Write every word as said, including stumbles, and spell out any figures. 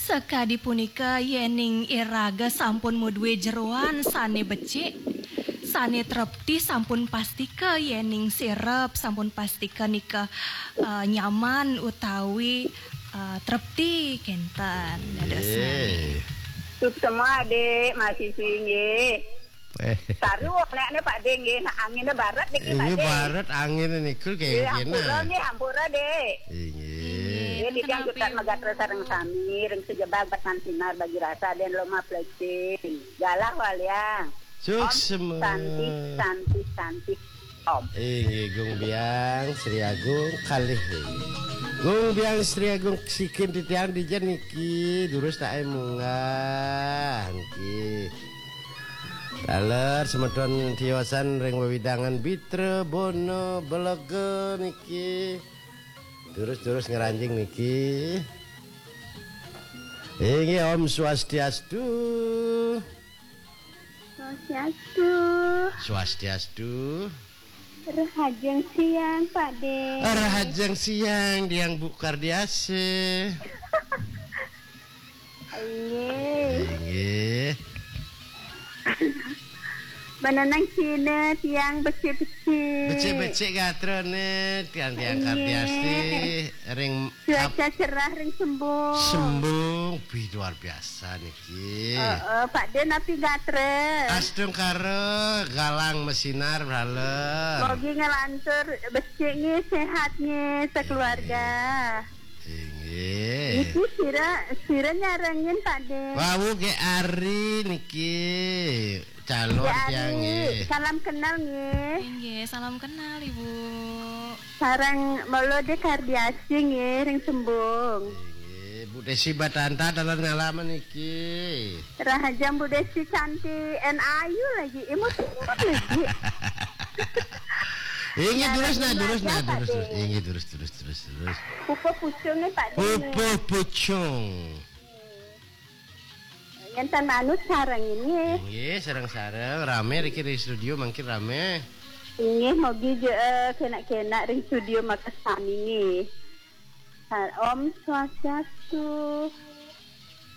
Sakadi punika, yéning iraga sampun madué jeroan sané becik, sané trepti, sampun pastika yéning sirep sampun pastika nika, eh, nyaman utawi, eh, trepti kénten dadosnyané. Nggih. Suksma, Dik, masih singgih. Eh. Saru, nék, nék, Pak Dé, nggih, nah, anginnya barat niki, Pak Dé. Barat angin niku. Nggih, kayak gini. Hampura nggih, hampura, Dé. Inggih. Nggih, niki kenapi, anggota megatra sareng sami, ring sejebag pesan sinar bagi rasa dan loma plesing. Galah waliang. Suksma. Om Santi, Santi, Santi. Om. Inggih, Gung Biang Sri Agung kalih. Gung Biang Sri Agung sikin titiang dija niki, durus tae munggah niki. Laler semeton tiosan ring wewidangan Bitra Bono Belega niki. Terus-terus ngranjing niki. Inggih, Om Swastiastu. Swastiastu. Swastiastu. Rahajeng siang, Pak Dé. Rahajeng siang, Diang Bu Kardiase. Inggih. Inggih. Menenang Cina, tiang becik-becik. Becik-becik gatrane, tiang-tiang. Inggih. Kardiasi, ring cuaca ap-, cerah ring Sembung. Sembung, wih, luar biasa niki. Heeh, Pak Dé napi gatra? Astungkara, galang mesinar, brala. Mogi nglantur becik nggih, sehat nggih, sekeluarga. Inggih. Niki sira, sira nyarengin, Pak Dé. Wau ge ari niki calon. Ge ari. Tiang nggih. Salam kenal nggih. Inggih, salam kenal, Ibu. Sareng Molo de Kardiasi nggih, ring Sembung. Inggih, Bu Desi Batanta dalan ngalaman niki. Rahajeng Bu Desi cantik and ayu lagi, imut-imut lagi. Inggih, durus nah, durus nah, durus, durus. Inggih, durus, durus, durus, durus. Pupuh pucung nih, Pak Dé. Pupuh pucung. Ngenten manut sareng ini. Inggih, sareng-sareng rame riki ring studio, mangkin rame. Inggih, mogi je, eh, kenak-kenak ring studio makasami nggih. Sa-, Om Swastiastu.